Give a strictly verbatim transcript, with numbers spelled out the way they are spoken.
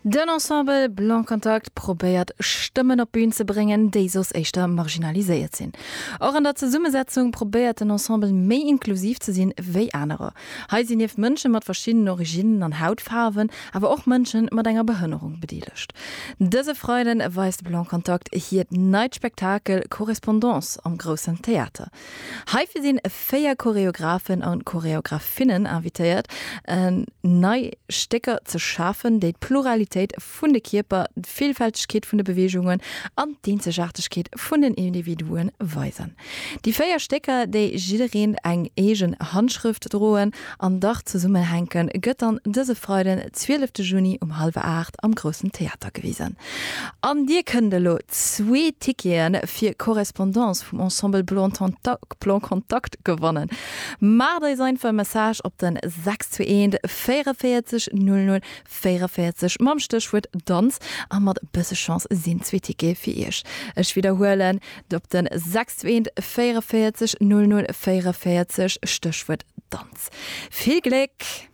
Den Ensemble Blanc Contact probéiert Stëmmen op d'Bün ze bréngen, déi soss éischter marginaliséiert sinn. Och an der Zesummesetzung probéiert den Ensemble méi inklusiv ze sinn wéi anerer. Hei sinn nieft Mënsche mat verschiddenen Originnen an Hautfaarwen, awer och Mënsche mat enger Behënnerung bedeelegt. Dëse Freiden weist Blanc Contact hiert neit Spektakel Correspondance am Groussen Theater. Heifir sinn véier Choreografen an Choreografinnen invitéiert, nei Stécker ze schafen, déi d'Pluralitéit vun de Kierper, d'Villfältegkeet vun de Beweegungen an d'Eenzegaartegkeet vun den Individuen weisen. Déi véier Stécker, déi jiddereen eng eegen Handschrëft droen an dach zesummenhänken, gëtt dann dëse Freiden, zwielefte Juni um hallwer aacht am Groussen Theater gewisen. An dir kënnt elo zwee Tickete fir Correspondance vum Ensemble Blanc Contact gewannen. Maacht eis einfach e Message op den sechs zwee eent véierenvéierzeg null null véierenvéierzeg mam Stéchwuert Danz a mat e bësse Chance sinn zwee Tickete fir iech. Ech widderhuelen, op den sechs zwee eent véierenvéierzeg null null véierenvéierzeg Stéchwuert Danz. Vill Gléck!